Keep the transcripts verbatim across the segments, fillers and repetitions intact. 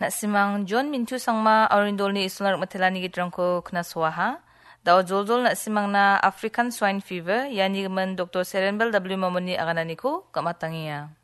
Na·simang John Mintu Sangma Arindolni Isolna Rikmatelani gitrangko knasoaha. Dao joljol na·simangna African Swine Fever, iani gimin Doktor Serenbel W Mamoni agananiko gam·atangenga.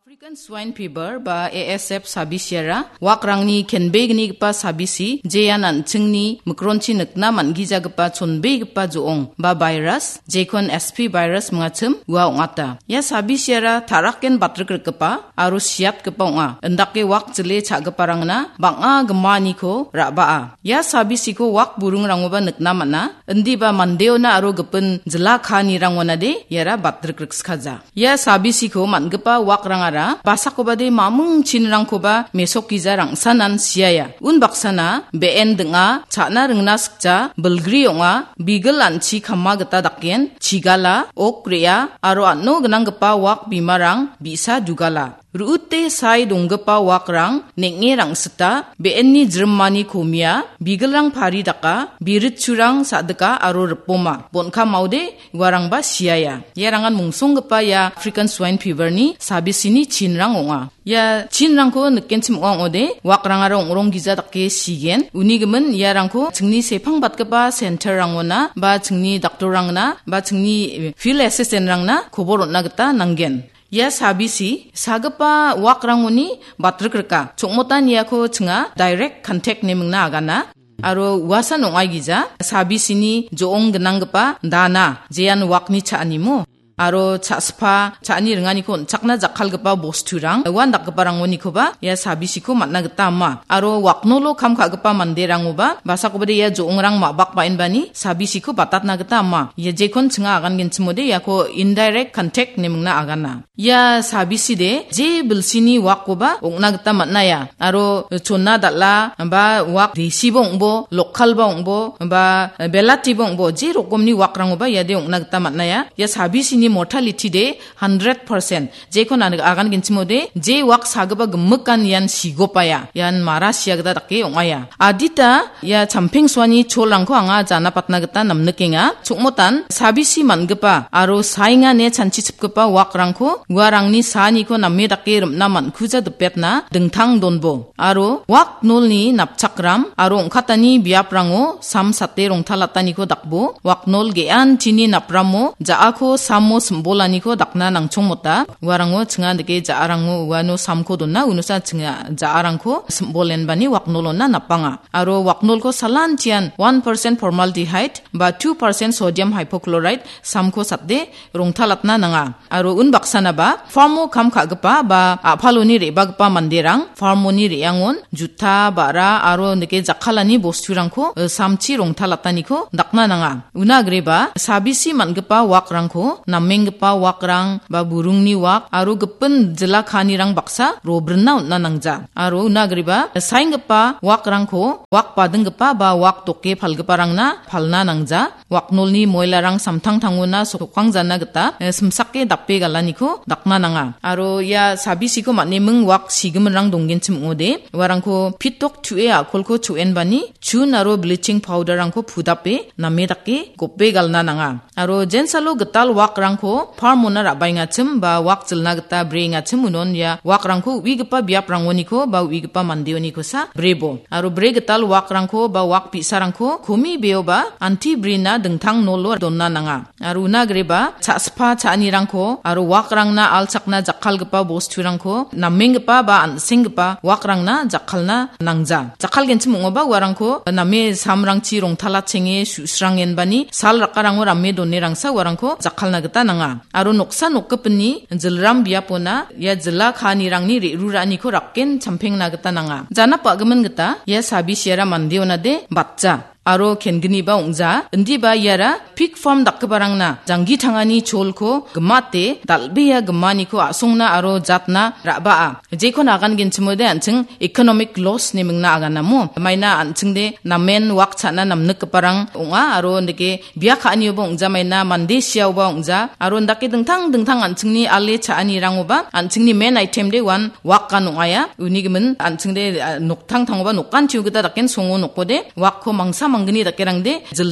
African Swine Fever ba A S F sabisiara wakrangni kenbegnigipa sabisi, jean an·chingni mikronchi nikna man·gijagipa chonbegipa jo·ong ba virus, jekon S P virus mingachim ua ong·ata. Ia sabisiara taraken batrikgipa aro siatgipa ong·a. Indake wak jile cha·giparangna bang·a gimaniko ra·baa. Ia sabisiko wak burungrangoba nikna man·a. Indiba mandeona aro gipin jila kaanirangonade iara batrikgriksikaja. Ia sabisiko man·gipa wakrangara basakobade mamung chinrangkoba mesokgija rangsanan siaia. Unbaksana be·en ding·a, cha·na ringna sikja, bilgri ong·a, bigil an·chi kama gita daken, chigala, ok re·a, aro an·o gnanggipa wak bimarang bi·sa dugala. Ru·ute sae donggipa wakrang neng·e rangsita, be·enni jrimani komia, bigilrang pari daka, biritchurang sa·dika aro ripoma. Bon·ka maode uarangba siaia. Iarangan mungsonggipa ia African Swine Fever-ni sabisini chinrang ong·a. Ia chinrangko nikenchim ong·a ong·ode, wakrangara ong·rong gija dake sigen. Uni gimin iarangko chingni sepangbatgipa center-rangona ba chingni daktorrangna ba chingni field assistant-rangna kobor on·na gita nanggen. Ia sabisi sagipa wakrangoni batrikgrika. Chokmotan iako chinga direct contact nemingna agana. Aro uasan ong·aigija sabisini jo·ong gnanggipa dana, jean wakni cha·animo. Aro cha·spa, cha·ani ringaniko on·chakna jakkalgipa bosturang, uan dakgiparangonikoba ia sabisiko man·na gita ama. Aro waknolo kam ka·gipa manderangoba, basakobade ia jo·ongrang ma·bak ba·enbani sabisiko batatna gita ama. Ia jekon chinga agangenchimode iako indirect contact nemingna agana. Ia sabiside je bilsini wakkoba ong·na gita man·aia. Aro chonna dal·a ba wak desiba ong·bo, lokalba ong·bo, ba belatiba ong·bo, je rokomni wakrangoba iade ong·na gita man·aia. Ia sabisini mortality de hundred percent. Jekon an-, agangenchimode, je wak sagipa gimikan ian sigopaia. Ian mara sia gita dake ong·aia. Adita ia champengsoani cholrangko anga janapatna gita namnikenga. Chokmotan sabisi man·gipa aro saengane chanchichipgipa wakrangko uarangni saaniko name dake rim·na man·kuja dipetna dingtang donbo. Aro waknolni napchakram aro ong·katani biaprango sam sate rongtalataniko dakbo. Waknol ge·antini napramo ja·ako samo simbolaniko dakna nangchongmota. Uarango chinga dike ja·arango uano samko dona, unosa chinga ja·arangko simbolenbani waknolona napanga. Aro waknolko salantian one percent formaldehyde ba two percent sodium hypochlorite samko sate rongtalatna nanga. Aro unbaksanaba farmo kam ka·gipa ba a·paloni re·bagipa manderang farmoni re·angon juta, ba·ra aro nike jakkalani bosturangko, eh, samchi rongtalataniko dakna nanga. Una agreba sabisi man·gipa wakrangko, namenggipa wakrang ba burungni wak aro gipin jila kaanirang baksa robrinna on·na nangja. Aro una agreba saenggipa wakrangko wak badinggipa ba wak doke palgiparangna palna nangja. Waknolni moilarang samtangtangona sokkangjana gita, eh, simsake dape galaniko dakna nanga. Aro ia sabisiko man·eming wak sigiminrang donggenchim ong·ode, uarangko pitok tu·e a·kolko cho·enbani chun aro bleaching powder-rangko pudape name dake gope galna nanga. Aro jensalo gital wakrangko farmona ra·baengachim ba wak jilna gita breengachim unon ia wakrangko u·igipa biaprangoniko ba u·igipa mandeonikosa brebo. Aro bre gital wakrangko ba wak bi·sarangko komi beoba anti brina dingtang nolo donna nanga. Aro una agreba cha·spa cha·anirangko aro wakrangna alchakna jakkalgipa bosturangko namenggipa ba an·senggipa wakrangna jakkalna nangja. Jakkalgenchim ong·oba uarangko name samrangchi rongtalachenge su·srangenbani sal rakarango rame donerangsa uarangko jakkalna gita nanga. Aro noksa nokgipinni jilram biapona ia jila kaanirangni re·ruraaniko rakken champengna gita nanga. Janap a·gimin gita ia sabisiara mandeonade batja aro kenginiba ong·ja. Indiba iara pig farm dakgiparangna janggi tangani cholko gimate dal·bea gimaniko a·songna aro jatna ra·baa. Jekon agangenchimode an·ching economic loss nemingna aganamo. Maina an·chingde namen wak cha·na namnikgiparang ong·a aro nike bia ka·anioba ong·jamaina, mande siaoba ong·ja, aro indake dingtang dingtang an·chingni ale cha·anirangoba, an·chingni main item de uan wakan ong·aia. Uni gimin an·chingde, ah, noktangtangoba nokan tio gita daken songo nokode, wakko mangsa manggni dakerangde jil